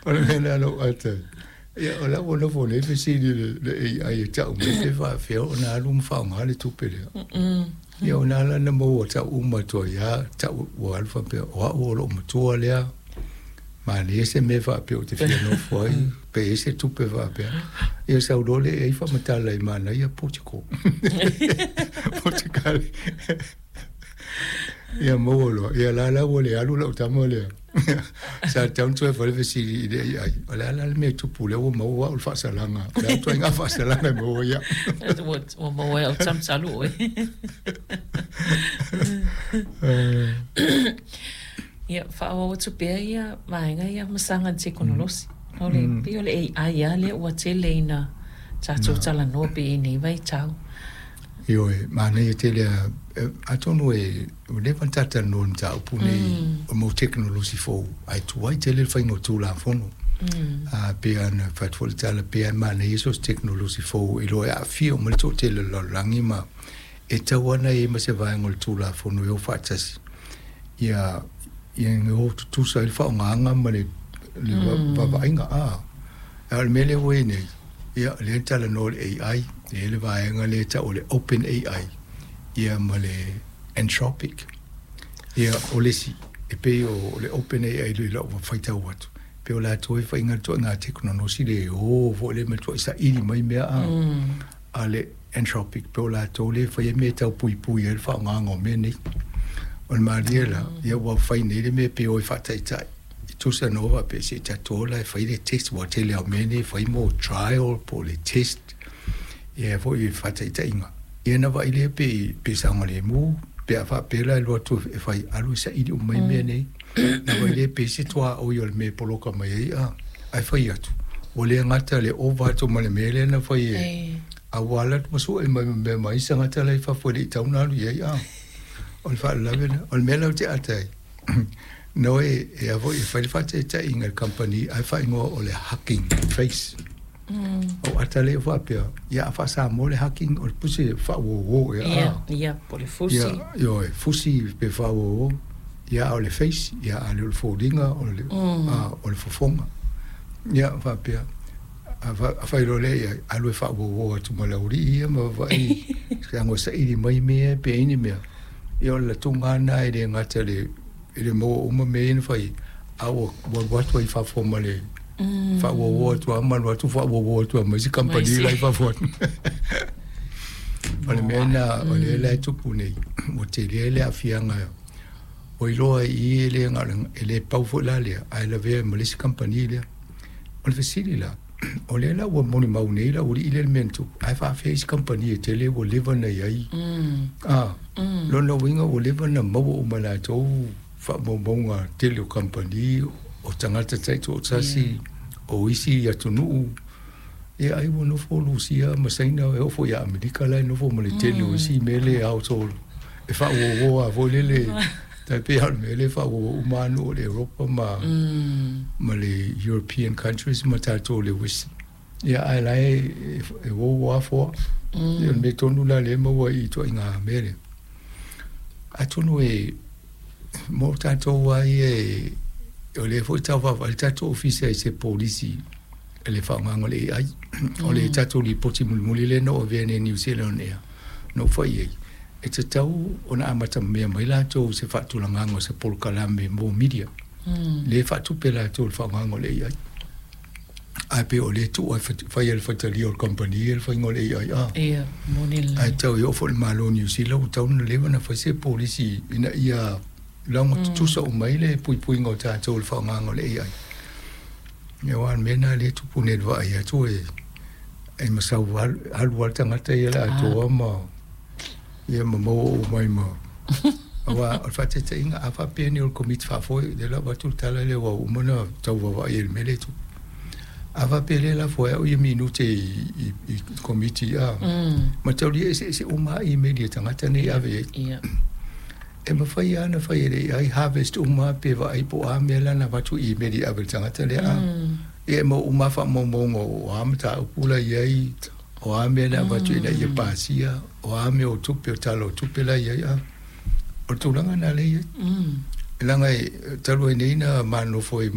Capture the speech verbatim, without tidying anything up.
O le mea lea na ou ata ai. Ia, o la ua nofo nei fesili le, le A I e tau mai pe faafefea ona alu ma faaaoga le tupe lea. Ia, ona ala na maua tau uma atu ai lava, tau ua alu faapea, o au o lou matua lea, manaia se mea faapea ou te fia nofo ai, pe i ai se tupe faapea. Ia sau loa le A I faamatala i manaia Portugal. Portugal. Ia maua loa. Ia la la ua le alu lau tama lea. Sa tatau ona toe fai le fesili i le A I. O le a la le mea e tupu lea ua maua au le faasalaga. O le a ituaiga faasalaga e maua ai au. Ua, ua maua ai au talu oe. Ia, faaauau atu pea ia vaega ia ma saga i le tekonolosi. O le, pei o le A I lava lea ua tele ina tatou talanoa pea i nei vaitau. Ioe, manaia tele lava. Atonu e, ua leva ona talatalanoa i le mataupu nei o le mau tekonolosi fou, ae tuai tele le faiga o Tulafono. A pei lava ona fai atu foi le tala, pei lava e manaia so o se tekonolosi fou i loa e aafia uma le toatele o le lalolagi ma e tatau lava ona i ai ma se vaega o le Tulafono e o faatasi ia ia o tutusa ai le faaaogaga ma le le vaavaaiga. A, a o le mea lea ua i ai nei, ia, lea e talanoa i le A I, e i ai le vaega lea e tau o le Open A I, ia ma le Anthropic. Ia, o le isi, e pei o le Open A I i lau faitau atu, pei o latou e faiga le ituaiga tekonolosi le o foi lea ma le ituai saili mai mea a, a le Anthropic, pei o latou lea e faia mea e tau puipui ai le faaaogaga o mea nei. O le malie la, ia ua fai nei le mea pe o e faataitai. E tusa na o faapea se i tatou o la e fai le test, ua tele lava o mea nei e fai mo trial po o le test, ia foi i faataitaiga. Ia na vaai lea pe, pe saogalemu, pe a faapea la e alu atu e fai, alu e saili uma mai mea nei. Na vaai lea pe i se tuaoi o le mea e poloka mai ai, a, ae fai atu, ua le gata le ova atu ma le mea lea na fai e, a ua alu atu ma sue mai ma mea ma isi tagata la i fafo e le i tatau ona alu i ai, a. O le faalavelave lena. O le mea la ou te ata ai, na o e, e a foi e fai le faataitaiga i le kamupani ae faaigoa o le Hugging Face. O ata lea faapea, ia a faa-Samoa le hugging, o le pusi e faauō ea. Ia, ia, po o le fusi. Ia, ioe, fusi pe faauō. Ia, a o le face, ia, a le o le foliga, o le, a, o le fofoga. Ia, faapea, a, a fai loa lea i ai, alu e faauō atu ma le aualii ia ma vaai, leaga ua saili mai mea pe i ai ni mea. Ia o le latuga lena e le gata le, e le maua uma mea ia na fai, a ua alu atu ai i fafo ma le faauō atu lava ma alu atu faauō atu lava ma isi kamupani la i fafo atu. O le mea lena o lea la e tupu nei, ua tele le aafiaga ua iloa ai i i e le na o le, e le pau foi la lea, ae lavea ai ma le isi kamupani lea. O le fesili la, o lea la ua molimau nei le aualii lea i le mea na tupu, ae faafefea isi kamupani e tele ua leva ona i ai? A, lona uiga ua leva ona maua uma e latou faamaumauga tele o kamupani, o tagata taitoatasi, o isi atunuu. Ia ai ua nofo Lusia ma Saina, e oo foi ia Amerika la e nofo ma le tele o isi mea le household e faauō lava foi lele, tai pei lava o le mea lea e faauō uma lava nuu o le Europa ma, ma le European countries ma tatou o le West. Ia ae la e, e uō lava foa. Ia o le mea tonu la lea e maua ai i ituaiga mea lea. Atonu e mo tatou lava ia e, o lea foi e tau vaavaai le tatou ofisa i se polisi i le faaaogaga o le A I. O le tatou lipoti mulimuli lea na ou avea nei i New Zealand on Air, na ou fai i ai, e tatau ona amata mea mai latou i se faatulagaga o se polokalame mo media, lea e faatupe latou i le faaaogaga o le A I. Ae pei o lea e tuu lava e fai e le faitalia o le kamupani ia le faiga o le A I, a. Ia, moni lelei. Ae tau e oo foi i le Malo o Niu Sila ua tatau ona leva ona fai se polisi ina ia laga tutusa uma ai le puipuiga o tatou i le faaaogaga o le A I. Ia aua o le mea lena lea e tupu nei i le vaai atu e, e masau alu lava le tagata ia le atoa ma, ia ma maua uma ai ma. Aua o le faataitaiga, a faapea nei o le Komiti Faafoe, lea la ua avatu le tala lea ua uma ona tau vaavaai ai i le mea lea e tupu. A faapea lea e lafo ai au ia minute i, i, i Komiti, a, mataulia eseese uma lava imeli a tagata nei e ave i ai. Ia. E mafai lava ona fai e le A I harvest uma pe vaai po o a mea la na avatu imeli e ave i le tagata lea, a. Ia e maua uma lava faamaumauga o a mataupu la e i ai, o a mea na avatu ina ia pasia, o a mea o tupe, o tala o tupe la e i ai, a. O le tulaga lena lea e i ai. Leaga e talu ai nei na ma nonofo ai